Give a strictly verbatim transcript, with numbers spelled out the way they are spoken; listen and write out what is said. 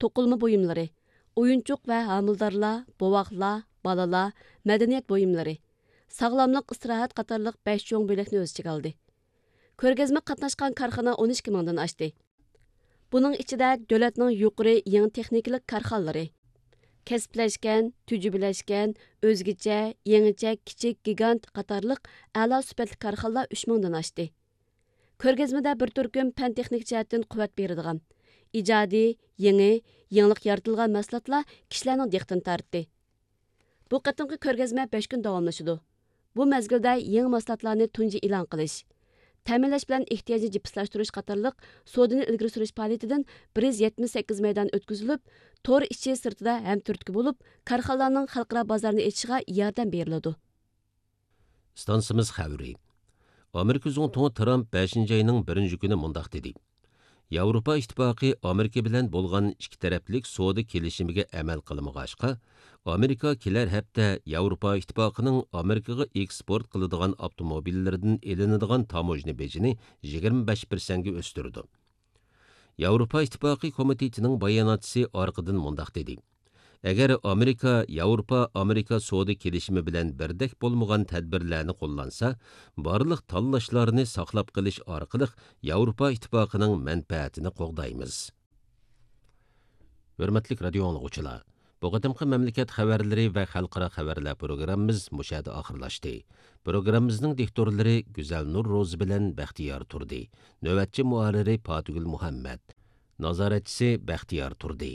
توقۇلما بۇيۇملىرى، ئويۇنچۇق ۋە ھامىلىدارلار، بوۋاقلار، بالىلار، مەدەنىيەت بۇيۇملىرى، ساغلاملىق، ئىستىراھەت قاتارلىق بەش چوڭ بۆلەكنى ئۆز ئىچىگە ئالدى. كۆرگەزمىگە قاتناشقان كارخانا ئون ئىككى مىڭدىن ئاشتى. بۇنىڭ ئىچىدە دۆلەتنىڭ يۇقىرى يېڭى تېخنىكىلىق كارخانىلىرى، كەسىپلەشكەن، تۈجۈملەشكەن، ئۆزگىچە، يېڭىچە، كىچىك، گىگانت قاتارلىق ئەلا سۈپەتلىك كارخانىلار ئۈچ مىڭدىن ئاشتى. كۆرگەزمىدە بىر تۈركۈم پەن تېخنىكا جەھەتتىن قۇۋۋەت بېرىدىغان، ئىجادىي، يېڭى، يېڭىلىق يارىتىلغان مەھسۇلاتلار كىشىلەرنىڭ دىققىتىنى تارتتى. بۇ قېتىمقى كۆرگەزمە بەش كۈن داۋاملىشىدۇ. بۇ مەزگىلدە يېڭى مەھسۇلاتلارنى تۇنجى ئېلان قىلىش، تەمىنلەش بىلەن ئېھتىياجنى جىپسلاشتۇرۇش قاتارلىق سودىنى ئىلگىرى سۈرۈش پائالىيىتىدىن بىر يۈز يەتمىش سەككىز مەيدان ئۆتكۈزۈلۈپ، تور ئىچى سىرتىدا ھەم تۈرتكە بولۇپ، كارخانىلارنىڭ خەلقئارا بازارنى ئېچىشىغا ياردەم بېرىلىدۇ. ئىستانسىمىز خەۋىرى. ئامېرىكا زۇڭتۇڭى ترامپ بەشىنچى ئاينىڭ بىرىنچى كۈنى مۇنداق دېدى: ياۋروپا ئىتتىپاقى ئامېرىكا بىلەن بولغان ئىككى تەرەپلىك سودا كېلىشىمىگە ئەمەل قىلمىغاچقا، ئامېرىكا كېلەر ھەپتە ياۋروپا ئىتتىپاقىنىڭ ئامېرىكىغا ئېكسپورت قىلىدىغان ئاپتوموبىللىرىدىن ئېلىنىدىغان تاموژنا بېجىنى يىگىرمە بەش پىرسەنتكە ئۆستۈرىدۇ. ياۋروپا ئىتتىپاقى كومىتېتىنىڭ باياناتچىسى ئارقىدىن مۇنداق دېدى: ئەگەر ئامېرىكا ياۋروپا ئامېرىكا سودا كېلىشىمى بىلەن بىردەك بولمىغان تەدبىرلەرنى قوللانسا، بارلىق تاللاشلارنى ساقلاپ قېلىش ئارقىلىق ياۋروپا ئىتتىپاقىنىڭ مەنپەئەتىنى قوغدايمىز. ھۆرمەتلىك رادىيو ئاڭلىغۇچىلار، بۇ قېتىمقى مەملىكەت خەۋەرلىرى ۋە خەلقئارا خەۋەرلەر پروگراممىمىز مۇشۇ يەردە ئاخىرلاشتى. پروگراممىمىزنىڭ دىكتورلىرى گۈزەلنۇر روزى بىلەن بەختىيار تۇردى. نۆۋەتچى مۇھەررىرى پاتىگۈل مۇھەممەت. نازارەتچىسى بەختىيار تۇردى.